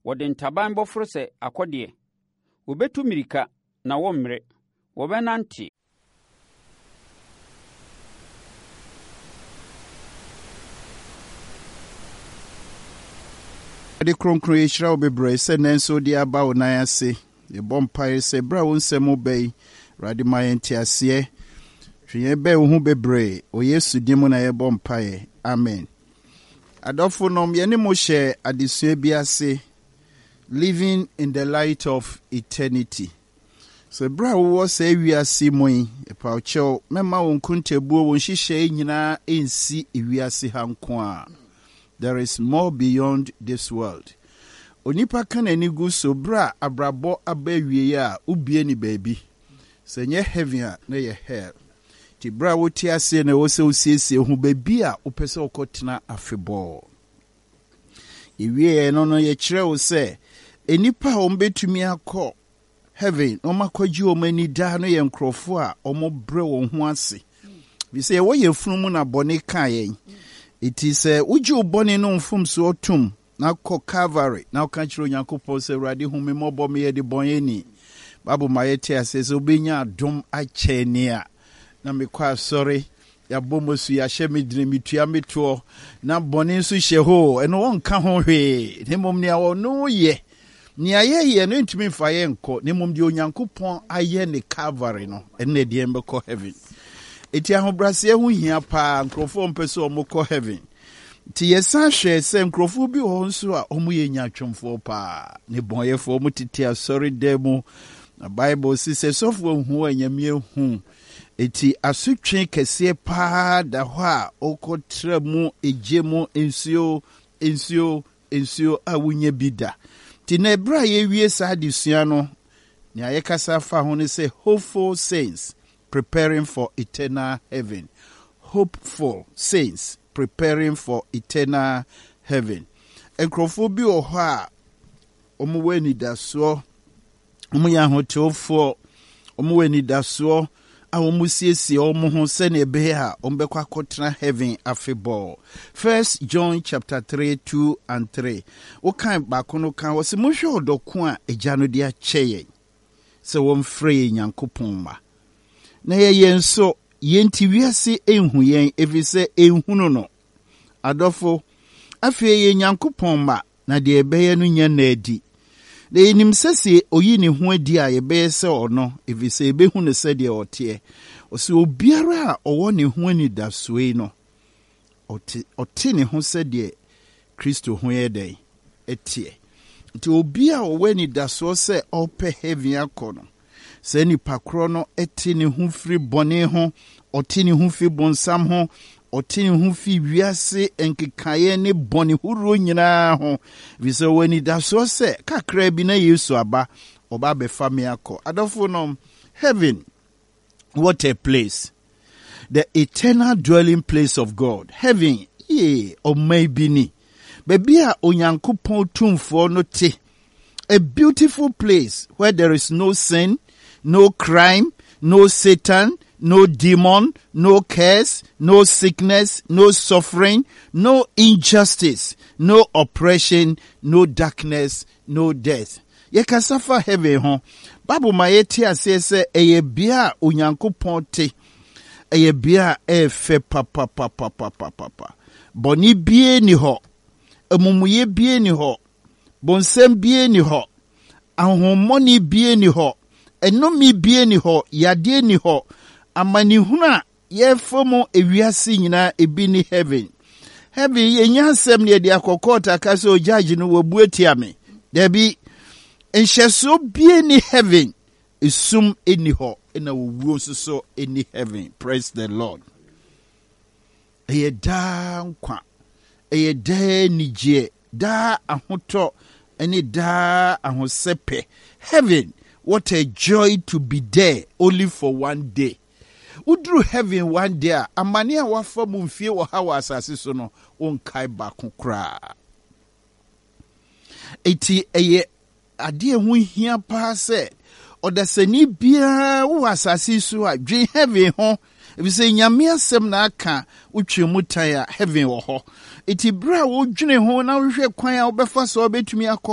Wɔde ntaban bɛforo sɛ akɔdeɛ. Wɔbɛtu mmirika, na wɔremmrɛ. Wɔbɛnante. Awurade Kronkron, yɛhyira wo bebree sɛ nnɛ nso wode aba wo nan ase. Yɛbɔ mpaeɛ sɛ berɛ a wo nsɛm reba yi, Awurade ma yɛn nteaseɛ. Twe yɛn bɛn wo ho bebree. Wɔ Yesu din mu na yɛbɔ mpaeɛ. Amen. Adɔfonom, yɛne mo hyɛ adesua bi ase, Living in the Light of Eternity. So berɛ a wowɔ saa wiase mu yi, ɛpaw kyɛw, mɛma wo nkontabuo, wo nhyehyɛe nyinaa nsi wiase ha nko a. There is more beyond this world. Onipa ka n'ani gu so berɛ a abrabɔ aba awiei a, wobue ne baabi. Sɛ ɛnyɛ heaven a, na ɛyɛ hell. Nti berɛ a wote aseɛ na ɛwɔ sɛ wosiesie ho baabi a wopɛ sɛ wokɔtena afebɔɔ. Yɛwieɛ no no, yɛkyerɛ wo sɛ nnipa a wɔbɛtumi akɔ heaven na wɔakɔgye wɔn ani daa no yɛ nkurɔfoɔ a wɔbrɛ wɔn ho ase. Ɛfiri sɛ yɛwɔ yɛn funu mu na bɔne kaa yɛn. Enti sɛ wogye wo bɔne no mfomsoɔ tom na kɔ Calvary na woka kyerɛ Onyankopɔn sɛ, Awurade hu me mmɔbɔ, meyɛ debɔneyɛni. Bible ma yɛte aseɛ sɛ wobɛnya adom akyɛn nea na mekɔ asɔre, yɛabɔ mu asu, yɛahyɛ me dene, metua me toɔ, na bɔne nso hyɛ hɔ o, ɛno wɔnka ho hwee, na mmom nea ɔno yɛ. Nea yɛyɛ no ntumi mfa yɛn nkɔ, na mmom deɛ Onyankopɔn ayɛ ne Calvary no, ɛno na ɛde yɛn bɛkɔ heaven. Eti ahobrɛaseɛ ho hia paa, nkurɔfoɔ mpɛ sɛ wɔkɔ heaven. Nti yɛsan hwɛɛ sɛ nkurɔfoɔ bi wɔ hɔ nso a wɔyɛ nyaatwomfoɔ paa, ne bɔnyɛfoɔ, wɔtete asɔredan mu. Na Bible se sɛ sɔfoɔ nhu a Nyame ahu. Eti asotwe kɛseɛ paa da hɔ a wokɔtra mu, egye mu, nsuo, nsuo, nsuo a wonnya bi da. Nti na ɛberɛ a yɛrewie saa adesua no, nea yɛkasa fa ho ne sɛ Hopeful Saints Preparing for Eternal Heaven. Hopeful Saints Preparing for Eternal Heaven. Nkurɔfoɔ bi wɔ hɔ a wɔwɔ anidasoɔ Wɔyɛ ahotewfoɔ, wɔwɔ anidasoɔ a wɔsiesie wɔn ho sɛnea ɛbɛyɛ a wɔbɛkɔ akɔtena heaven afebɔɔ. First John chapter 3, 2 and 3. Wokan baako no kan wɔ sɛ monhwɛ ɔdɔ ko a Agya no de akyɛ yɛn sɛ wɔmfrɛ yɛn Nyankopɔn mma. Na yɛyɛ nso, yɛn nti wiase nhu yɛn ɛfiri sɛ ɛnhunu no. Adɔfo, afei yɛyɛ Nyankopɔn mma, na deɛ yɛbɛyɛ no nyɛ nna adi. Na yɛnim sɛ sɛ ɔyi ne ho adi a, yɛbɛyɛ sɛ ɔno, ɛfiri sɛ yɛbɛhu no sɛdeɛ ɔteɛ. Ɔse obiara a ɔwɔ ne ho anidasoɔ yi no, ɔte, ɔte ne ho sɛdeɛ Kristo ho yɛ dɛn? Ɛteɛ. Nti obi a ɔwɔ anidasoɔ sɛ ɔrepɛ heaven akɔ no, Saa nipa korɔ no te ne ho firi bɔne ho, ɔte ne ho fi bonsam ho, ɔte ne ho fi wiase nkekaeɛ ne bɔne horoɔ nyinaa ho, ɛfiri sɛ ɔwɔ anidasoɔ sɛ kakraa bi na Yesu aba, ɔba abɛfa me akɔ. Adɔfo nom, heaven, what a place! The eternal dwelling place of God. Heaven, yee, ɔman bi ni. Baabi a Onyankopɔn tumfoɔ no te. A beautiful place where there is no sin, no crime, no Satan, no demon, no curse, no sickness, no suffering, no injustice, no oppression, no darkness, no death. Yɛkasa fa heaven ho. Bible ma yɛte aseɛ sɛ ɛyɛ bea a Onyankopɔn te. Ɛyɛ bea a ɛyɛ fɛ papapapapapapa. Bɔne bie ni hɔ. Amumuyɛ bie ni hɔ. Bonsam bie ni hɔ. Ahonhommɔne bie ni hɔ. Ɛnome bie ni hɔ. Yadeɛ ni hɔ. Amanehunu a Yɛfa mu ewiase nyinaa ebi ne heaven. Heaven yɛnya asɛm ne yɛde akɔ court aka sɛ o judge no wabu atia me. Dabi, nhyɛsoɔ bie ni heaven. Esum nni hɔ na owuo nso so nni heaven. Praise the Lord. Ɛyɛ daa nkwa. Ɛyɛ daa anigyeɛ, daa ahotɔ ne daa ahosɛpɛ. Heaven, what a joy to be there only for one day. Woduru heaven one day a, amane a woafa mu mfie ɔha wɔ asase so no, wonkae baako koraa. Enti ɛyɛ adeɛ ɛho hia paa sɛ ɔdasani biara wowɔ asase so a, dwen heaven ho. Efisɛ Nyame asɛm na aka, wotwe mu tan a, heaven wɔ hɔ. Enti berɛ a wodwene ho na wohwehwɛ kwan a wobɛfa so a wobɛtumi akɔ.